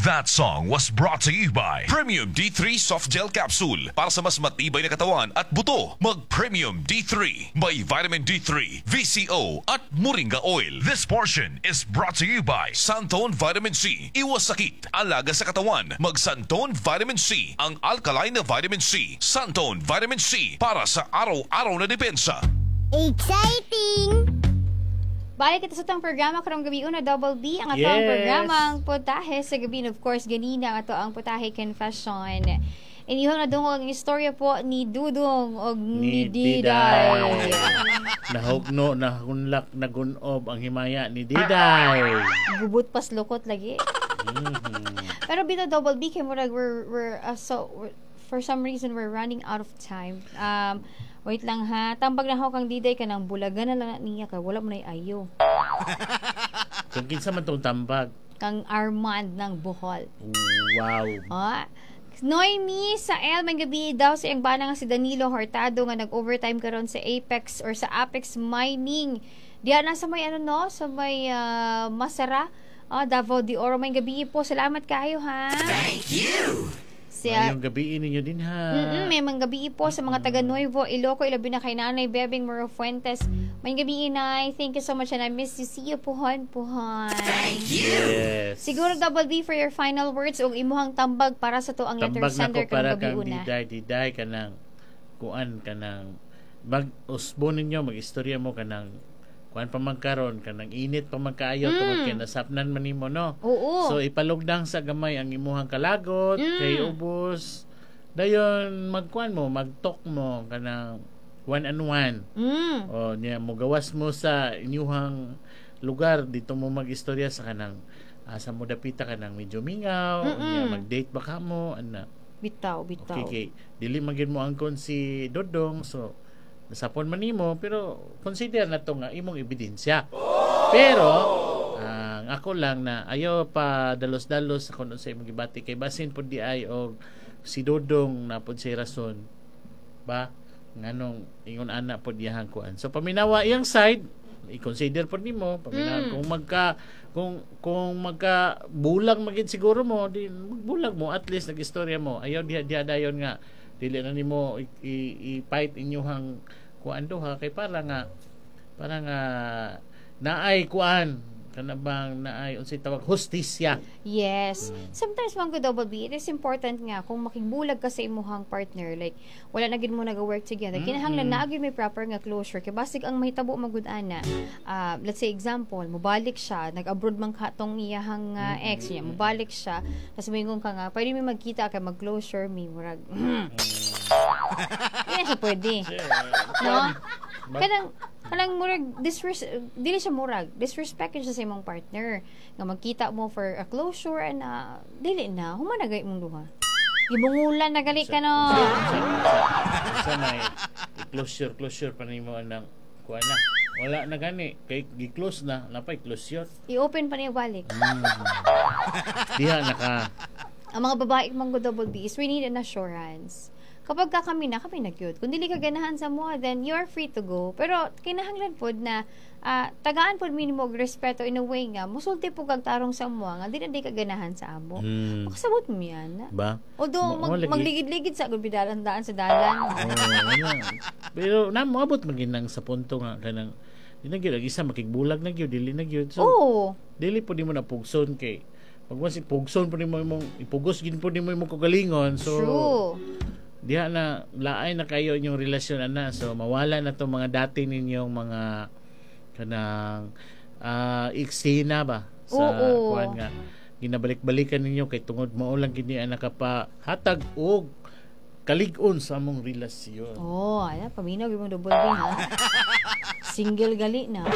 That song was brought to you by Premium D3 Soft Gel Capsule, para sa mas matibay na katawan at buto. Mag Premium D3. May vitamin D3, VCO at Moringa Oil. This portion is brought to you by Santone Vitamin C. Iwas sakit, alaga sa katawan. Mag Santone Vitamin C, ang alkaline na vitamin C. Santone Vitamin C, para sa araw-araw na depensa. Exciting! Balik kita sa atong programa karong gabi una, Double B, ang atong programa, ang Putahe sa Gabi, and of course ganina ang ato ang Putahe Confession. Inyong nadungog ang istorya po ni Dudong og ni Ni Diday. Diday. Nahugno, nahunlak, nagunob ang himaya ni Diday. Gubot pas lukot lagi. Pero bitaw, Double B, kay murag we're so for some reason we're running out of time. Wait lang ha. Tambag na ako kang Diday, kanang bulagan na lang na niya kay wala mo na ayo. Kung kinsa man tong tambag. Kang Armand ng Bohol. Wow. Ah. Noemi sa El, may gabi daw sa iyang bana nga si Danilo Hortado nga nag-overtime karon sa Apex or sa Apex Mining. Diya na sa may ano no, sa may Masara, Davao de Oro. May gabi po. Salamat kayo ha. Thank you. Siya, Ngayong gabi ninyo din ha. May mga gabi po sa mga taga Nuevo Iloco, ilabi na kay Nanay Bebing Moro Fuentes. May gabi, inay. Thank you so much and I miss you. See you puhon, puhon. Yes. Siguro, Double B, for your final words ug imuhang tambag para sa to ang letter Tambag na ko sender para karong gabi kang una. Diday, Diday, kanang kuan, kanang mag usbo ninyo, mag-istorya mo, kanang kuan pa man karon, kanang init pa man kaayo tungod kay nasapnan man nimo, no? Oo. So ipalugdang sa gamay ang imuhang kalagot kay ubos dayon magkuan mo, magtalk mo kanang one on one. O niya mo gawas mo sa inyuhang lugar dito mo magistorya sa kanang asa mo dapita, kanang medyo mingaw, niya mag-date ba ka mo ana. Bitaw, bitaw. Okay, kay dili man gyud mo angkon si Dodong, so nasapon man nimo, pero consider na to nga imong ebidensya. Pero ang ako lang na ayo pa dalos-dalos sa kung sa imong gibati kay basin pud di ay og si Dodong na pud siya rason ba nganong ingon ana pud iyang kuan. So paminawa iyang side, i-consider pud nimo, paminawa. Kung magka bulag magid siguro mo di magbulag mo, at least nag-istorya mo. Ayaw diha diha dayon nga dili na nimo i-fight inyuhang kuan duha kay para nga naay kuan, kana bang naay unsay tawag, hustisya. Yes. Sometimes man ko, Double B, it is important nga kung makigbulag ka sa imuhang partner, like wala na gid mo nag-work together. Kinahanglan naa gyud may proper nga closure kay basig ang mahitabo magud ana. Let's say example, mobalik siya, nag-abroad man ka tong iyahang ex niya, mobalik siya, tapos moingon ka nga, "Pwede mi magkita kay mag-closure mi," murag. Hindi na siya pwede. No? Kanang murag dili siya murag disrespect yun siya sa imong partner nga magkita mo for a closure and dili na human na gay imong duha. Gibungulan na gali ka, no? Sa may closure closure pa nimo anang kuan na wala na gani kay gi-close na napay closure. I-open pa niya balik. Diha naka Ang mga babae man go, Double B, is we need an assurance. Kapag ka kami na, kami na gyud. Kung dili ka ganahan sa mo, then you're free to go. Pero kinahanglan pod na tagaan pod minimo og respeto in a way nga musulti po kag tarong sa mo nga di na di ka ganahan sa amo. Makasabot mo yan. Ba Although Mo lagi. magligid-ligid sa gud bidalan daan sa dalan. Oh, ano. Pero na moabot man ginang sa punto nga kanang di na gyud ang isa makigbulag na gyud, dili na gyud. So dili po nimo na pugson kay pag once pugson po nimo imong ipugos gid po nimo imong kagalingon. So diha na laay na kayo inyong relasyon ana, so mawala na to mga dati ninyong mga kanang eksena ba sa kuan nga ginabalik-balikan ninyo kay tungod mao lang gini ang nakapahatag og kalig-on sa among relasyon. Oh, ala paminaw gyud mong, Double B, ha. Single gali na.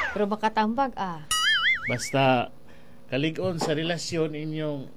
Pero makatambag ah. Basta kalig-on sa relasyon inyong